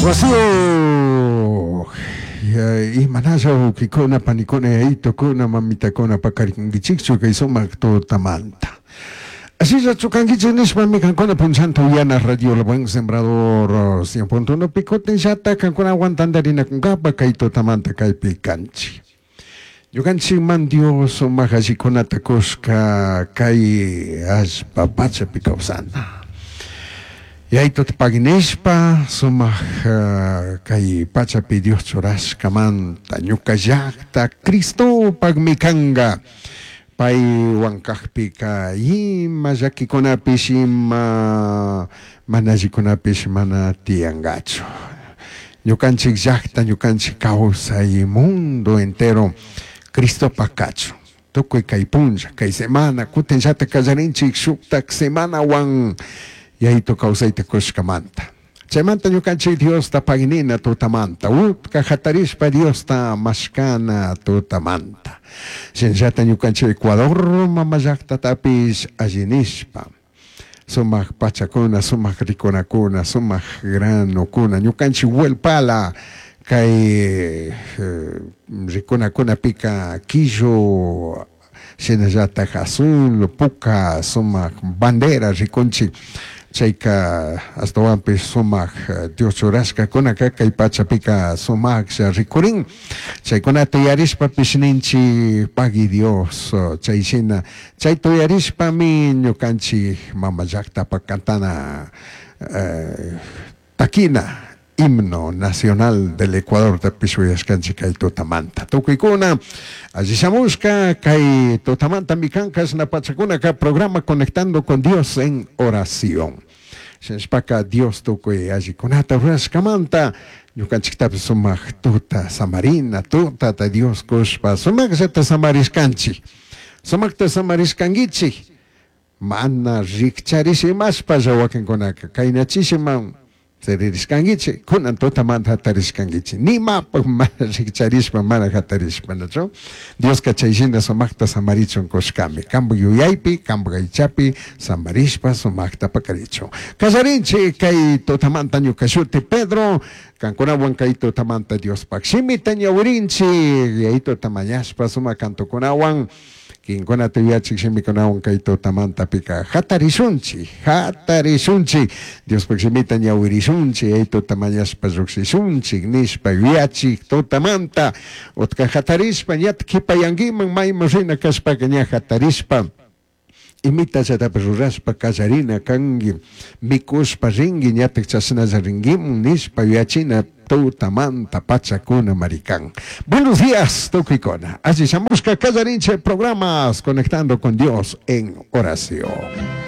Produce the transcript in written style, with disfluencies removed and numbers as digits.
Wasiyuj imanalla wawkikuna, panikuna, yayitukuna, mamitakuna pakarinkichikchu kay sumak tutamanta. Ashillachu kankichik nishpami kankuna punchanta uyana Radio El Buen Sembrador 100.1 pi kutinllata kankunawan tantarinakunkapa kay tutamanta kaypi kanchik. Ñukanchikman Dios sumak allikunata kushka kay allpa pachapi kawsana. Yayituta pagui nishpa sumak kay pachapi Dios churashkamanta ñuka llakta Cristopakmi kanga. Paywan kakpika ima llakikunapish ima mana allikunapish mana tiyangachu. Ñukanchik llakta, ñukanchik kawsay mundo entero Cristopak kachun. Tukuy kay punlla, kay semana, kutinllata kallarinchik shuktak semanawan Yayitu kawsayta kushkamanta. Chaymanta ñukanchik Diosta pagnina tutamanta, utka jatarishpa Diosta mashkana tutamanta. Shinallata ñukanchik Ecuador mama llaktatapish alli nishpa, sumak pachakuna, sumak rikunakuna, sumak granokuna, ñukanchik huelpala kay rikunakunapika quillo shinallatak azul, puka sumak bandera rikunchik, chayka ashtawanpish sumak Dios churashkakunaka kay pachapika sumaklla rikurin, chaykunata yarishpapish ninchik pagui Dios chay shina chayta uyarishpami ñukanchik mama llaktapak cantana takina himno nacional del Ecuador tapish uyashkanchik kay tutamanta. Tukuykuna alli shamushka kay tutamantami kan kashna pachakunaka programa Conectando con Dios en Oración. Shinashpaka Dios tukuy allikunata rurashkamanta ñukanchiktapish sumak tuta samarina tutata Dios kushpa sumakllata samarishkanchik. Sumakta samarishkankichik mana rikcharishimashpalla wakinkunaka kaynachishiman Charirishkanguichi, kunan tutamanta jatarishkanguichi. Nimapaj mana rikcharishpa, mana jatarishpa, nachu? Dioska chay shina sumakta samarichun kushkami. Kampak yuyaypi, kampak aychapi samarishpa sumakta pakarichun. Kallarinchi kay tutamanta ñuka shuti Pedro, kankunawan kay tutamanta Diospak shimita ñawirinchi, yayituta mañashpa sumak cantokunawan. Kinkunata yuyachik shimikunawan kay tutamantapika jatarishunchik, jatarishunchik, Diospak shimita ñawirishunchik, yayituta mañashpa llukshishunchik nishpa yuyachik tutamanta utka jatarishpa ñatak kipayankiman mayman rina kashpaka ña jatarishpa imitallatapish rurashpa kallarina kanki, mikushpa rinki ñatak chashnalla rinkimun nishpa yuyachina Tutamanta pachakuna marikan. Buenos días, tukuykuna. Alli shamushka kallarinchik programas Conectando con Dios en Oración.